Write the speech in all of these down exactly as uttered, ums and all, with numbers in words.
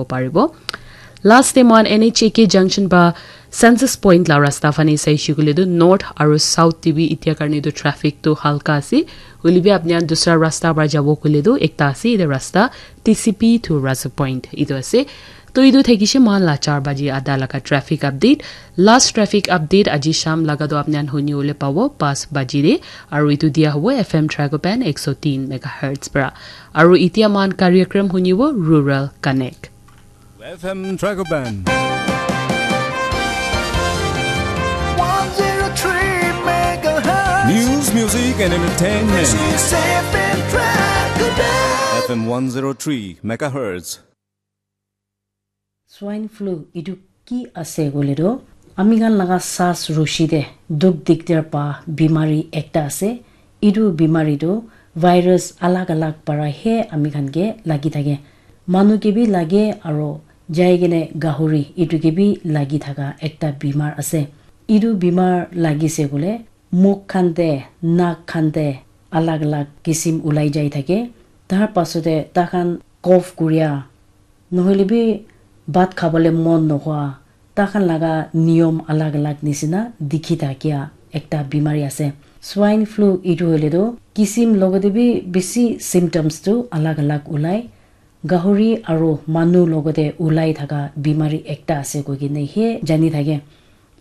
Paribo. Last te mohan N H A K junction pa census point la rasta phane saishe koile tu north aru south te bi itia karne tu traffic tu halka ase. Hoile bi apni khan dusra rasta para jabo koile tu ekta ase, etu rasta T C P to Raza point etu ase. To etu thakishe mohan la char baji ada laga traffic update. Last traffic update aji sham laga tu apni khan huni bole pabo pas baji de. Aru etu dia hobo F M Tragopan ek so tin megahertz para. Aru itia mohan karyakram hunibo Rural Connect. F M Tragopan. one zero three megahertz. News, music, and entertainment. This is F M Tragopan. F M one zero three megahertz. Swine flu itu ki ase koile tu ami khan laga saas rushi te dukh digdar pa bimari ekta ase. Itu bimari tu virus alag alag para he ami khan ke lagi thake. Manu ke bi lage aro jai kene gahuri itu ke bi lagi thaka ekta bimar ase. Itu bimar lagise koile muk khan te, nak khan te alag alag kisim ulai jai thake. Tar pasate takhan cough kuria, nohoile bi bhat khabole mon nohoa, takhan laga niyom alag alag nisina dikhi thakia ekta bimari ase. Swine flu itu hoile tu kisim logote bi bisi symptoms tu alag alag ulai. Gahuri aro manu logote ulai thaka bimari ekta ase koikene he jani thake.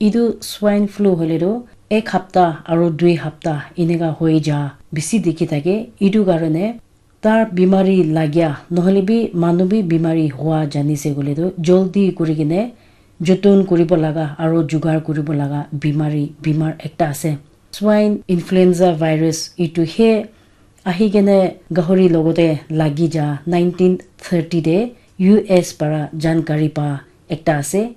Itu swine flu hoile tu ek hapta aro dui hapta eneka hoi ja bisi dikhi thake. Itu karone tar bimari lagya nohole bi manu bi bimari hua janise koile tu joldi kurikene joton kuribo laga aro jugar kuribo laga bimari bimar ekta ase. Swine influenza virus itu he ahi kene gahuri logote lagi ja nineteen thirty te U S para jankari pa ekta ase.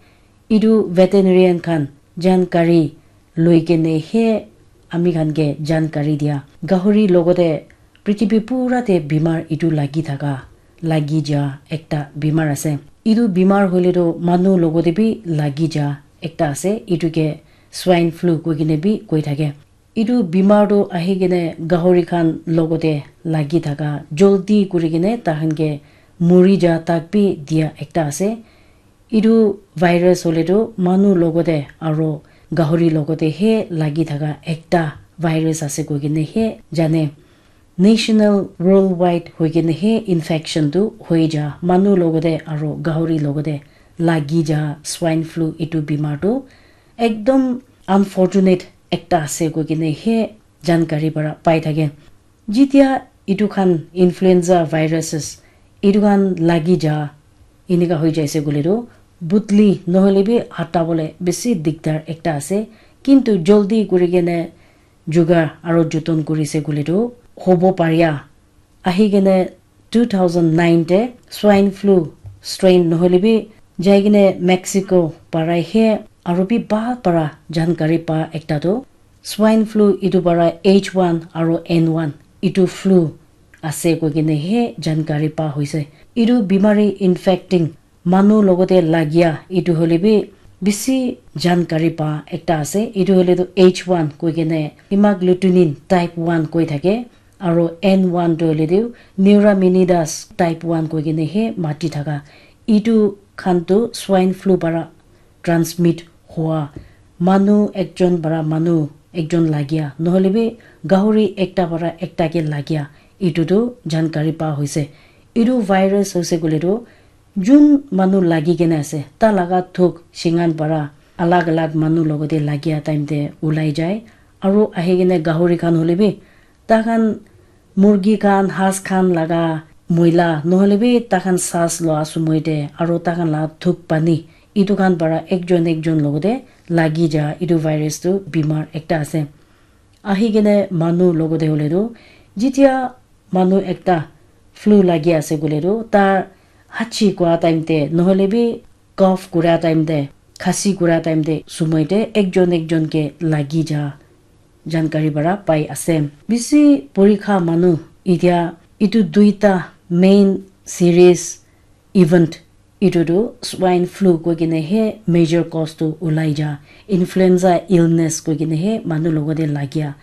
Itu veterinarian khan jankari loi kene he ami khan ke jankari dia. Gahuri logote prithibi pura te bimar itu lagi thaka, lagi ja ekta bimar ase. Itu bimar hoile tu manu logote bi lagi ja ekta ase. Itu ke swine flu koi kene bi koi thake. Itu bimar tu ahi kene gahuri khan logote lagi thaka joldi kuri kene tahan ke muri ja tak bi dia ekta ase. Itu virus hoile tu manu logote aro gahuri logote he lagi thaka ekta virus ase koi kene he jane. National worldwide hoi kene he infection tu hoi ja manu logote aro gahuri logote lagi ja swine flu itu bimar tu ekdom unfortunate ekta ase koi kene he jankari para pai thake. Jitia itu khan influenza viruses itu khan lagi ja enika hoi jaise koile tu butli nohole bi hata bole bisi digdar ekta ase. Kintu joldi kuri kene jugar aro joton kurise koile tu hobo paria. Ahi kene two thousand nine te swine flu strain nohole bi jai kene Mexico parai he aro bi bhal para jankari pa ekta tu swine flu itu para H one aro N one itu flu ase koi kene he jankari pa hoise. Itu bimari infecting manu logote lagia itu hoile bi bisi jankari pa ekta ase. Itu hoile tu H one koi kene hemagglutinin type one koi thake. Aro N one tu hoile tu Neuraminidase type one koi kene he mati thaka. Itu khan tu swine flu para transmit hua. Manu ekjon para manu ekjon lagia. Nohole bi gahuri ekta para ekta ke lagia. Itu tu jankari pa hoise. Itu virus hoise koile tu jun manu lagi kene ase. Ta laga thuk shingan para alag alag manu logote lagia time te ulai jai. Aro ahi kene gahuri khan hole bi takhan murgi khan, has khan laga moila, nohole bi takhan saas loa sumoi te, aro takhan la thuk pani, itu khan para ekjon ekjon logote lagi ja, itu virus tu bimar ekta ase. Ahi kene manu logote hoile tu, jitia manu ekta flu lagi ase koile tu, tar hachi kura time te, nohole bi cough kura time te, khasi kura time te, sumoi te ekjon ekjon ke lagi ja jankari para pai ase. Bisi purikha manu itia itu duita main serious event itu tu swine flu koi kene he major cause tu ulai ja influenza illness koi kene he manu logote lagia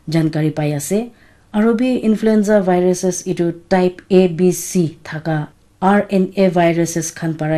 jankari pai ase. Aro bi influenza viruses itu type A B C thaka R N A viruses khan para